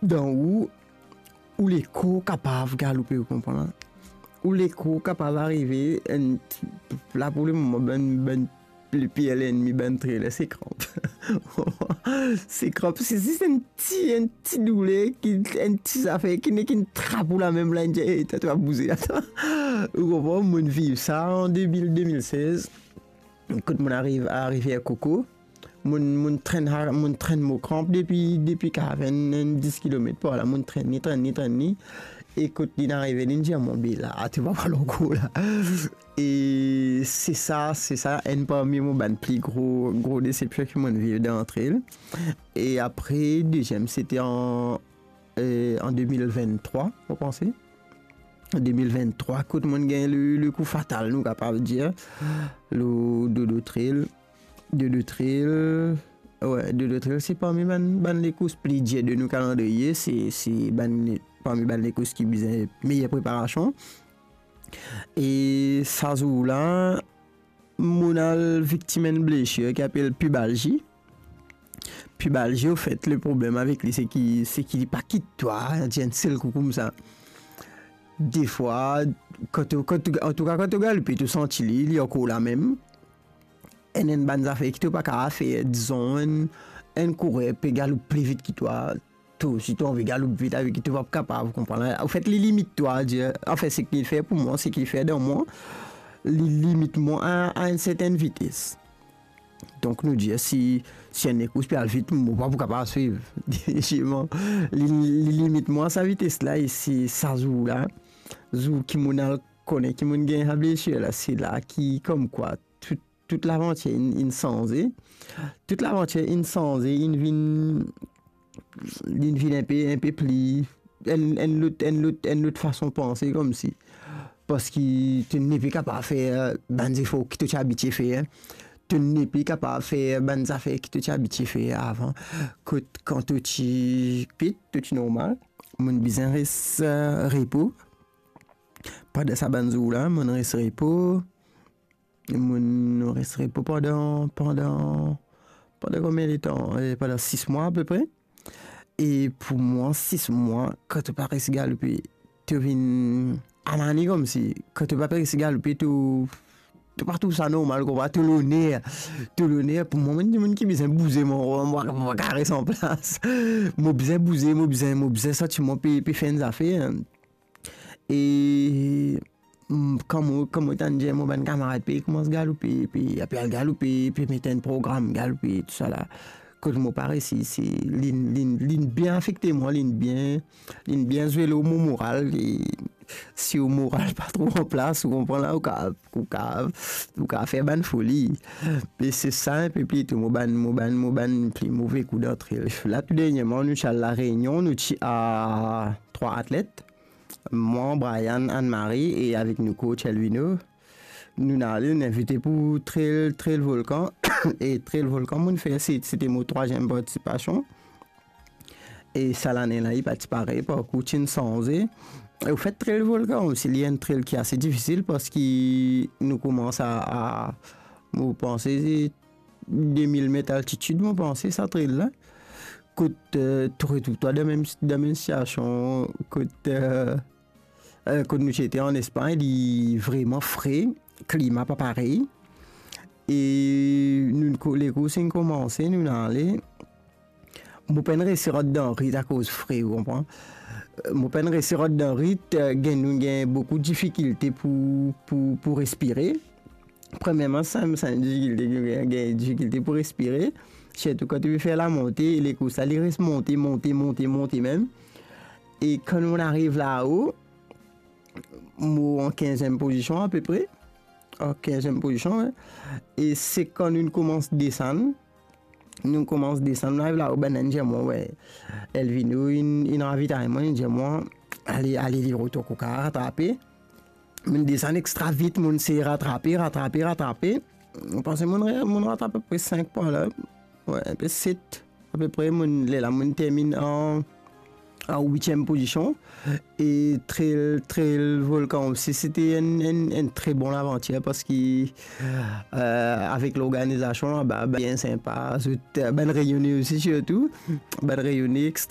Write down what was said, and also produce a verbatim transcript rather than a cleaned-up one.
dan ou, ou lekor kapav galoupe, ou konpran la? Ou lekor kapav arive, enn ti, la pou lemoman, bann, bann pli pir lennmi bann trailer, se kranp. Se kranp, se zis enn ti, enn ti douler, ki, enn ti zafer ki, ki trap ou lamem la, dir, "Ey, twa, twa bouze, atann." Ou konpran? Mo'nn viv sa an de mil, de mil sez. Kot mo'nn ariv a Rivier Coco, mo'nn, mo'nn trenn, mo'nn trenn mo kranp depi, depi kav enn, enn dis kilomet par la, mo'nn trenn li, trenn li, trenn li. E kot li'nn arive, li'nn dir mwa, "Be la, to pa pral ankor la." E se sa, se sa enn parmi mo bann pli gro, gro desepsion ki mo'nn viv dan trail. E apre, deziem, sete an, eh, an de mil venntrwa, mo panse. De mil venntrwa, kot mo'nn gagn le, le kou fatal, nou kapav dir, lor Dodo Trail. Dodo Trail, we, Dodo Trail, se parmi bann, bann lekours pli dir de nou kalandriye, se, se bann, parmi bann lekours ki bizin meyer preparasion. E sa zour la, mo'nn al viktim enn blesir ki apel pubalji. Pubalji, anfet, le problem avek li, se ki, se ki li pa kit twa, dir enn sel kou koumsa. Defwa, kan to, kan to, antouka, kan to galoupe, to santi li, li ankor lamem. Enn, enn bann zafer ki to pa kapav fer, dizon, enn, enn kourer pe galoup pli vit ki twa, to osi, to anvi galoup vit avek li, to pa kapav, konpran la. Anfet, li limit twa, dir, anfin, seki li fer pou mwa, seki li fer dan mwa, li limit mwa a, a enn sertenn vites. Donk, nou dir, si, si enn lekours pe al vit, mo pa pou kapav swiv. Definitivman, li, li limit mwa sa vites la, e se sa zour la, zour ki mo'nn al kone ki mo'nn gagn sa blesir la, se la ki, komkwa, tout, tout lavantir inn, inn sanze. Tout lavantir inn sanze, inn vinn, inn vinn enpe, enpe pli, enn, enn lot, enn lot, enn lot fason panse, komsi. Parski to nepli kapav fer bann zefor ki to ti abitie fer. To nepli kapav fer bann zafer ki to ti abitie fer avan. Kot kan to ti pit, to ti normal, mo'nn bizin res, eh, repo. Pandan sa bann zour la, mo'nn res repo. Mo'nn res repo pandan, pandan, pandan konbien letan? Eh, pandan sis mwa apepre. E pou mwa, sis mwa, kan to pa resi galoupe, to vinn anane komsi. Kan to pa resi galoupe, to, to pa trouv sa normal, konpran? To loner, to loner. Pou mwa, mo'nn dimoun ki bizin bouze, mo, mo, mo pa kapav res anplas. Mo bizin bouze, mo bizin, mo bizin santi mwa pe, pe fer enn zafer. E, mm, kan mo, kan mo tann dir mo bann kamarad pe koumans galoupe, pe, pe al galoupe, pe met enn program galoupe, tousala. Kot mo pa resi, se, li'nn, li'nn, li'nn bien afekte mwa, li'nn bien, li'nn bien zwe lor mo moral, e si ou moral pa tro anplas, ou konpran la, ou ka, ou ka, ou ka fer bann foli. E se sa enpe plito mo bann, mo bann, mo bann pli move kou dan trail. La tou dernieman, nou ti al La Réunion, nou ti a trwa atlet. Mwa, Brian, Anne-Marie e avek nou coach Elvino. Nou'nn ale, nou'nn invite pou Trail, Trail Volcan. E Trail Volcan, mo'nn fer, se, sete mo trwaziem partisipasion. E sa lane la, li pa ti parey, parkour ti'nn sanze. E anfet, Trail Volcan osi, li enn trail ki ase difisil parski nou koumans a, a, mo panse, de mil met altitid, mo panse, sa trail la. Kot, eh, to retrouv twa dan mem, dan mem sitiasion kot, eh, eh, kot nou ti ete an Espagn, li vreman fre, klima pa parey. E nou, ko-, lekours inn koumanse, nou'nn ale. Mo pa'nn resi rant dan rit akoz fre, ou konpran? Eh, mo pa'nn resi rant dan rit, eh, gagn, nou gagn boukou difikilte pou, pou, pou respire. Premierman, sa, sa enn difikilte ki nou gagn, gagn difikilte pou respire. Sirtou kan to pe fer lamonte, lekours la, li res monte, monte, monte, monte mem. E kan nou ariv lao, mo an kinziem pozision apepre. An kinziem pozision, wi. E se kan nou koumans desann, nou koumans desann, nou ariv lao, bann-la inn dir mwa, wi, Elvino inn, inn ravitay mwa, inn dir mwa, "Ale, ale, li retourn, ou kav ratrape." Mo'nn desann extra vit, mo'nn sey ratrape, ratrape, ratrape. Mo panse mo'nn re-, mo'nn ratrap apepre sink pwin la. Wi, enpe set, apepre, mo'nn, lerla mo'nn terminn an, an witiem pozision. E Trail, Trail Volcan osi, sete enn, enn, enn tre bon lavantir parski, eh, avek lorganizasion laba, bien sinpa, zot, eh, bann Reyone osi sirtou, bann Reyone extra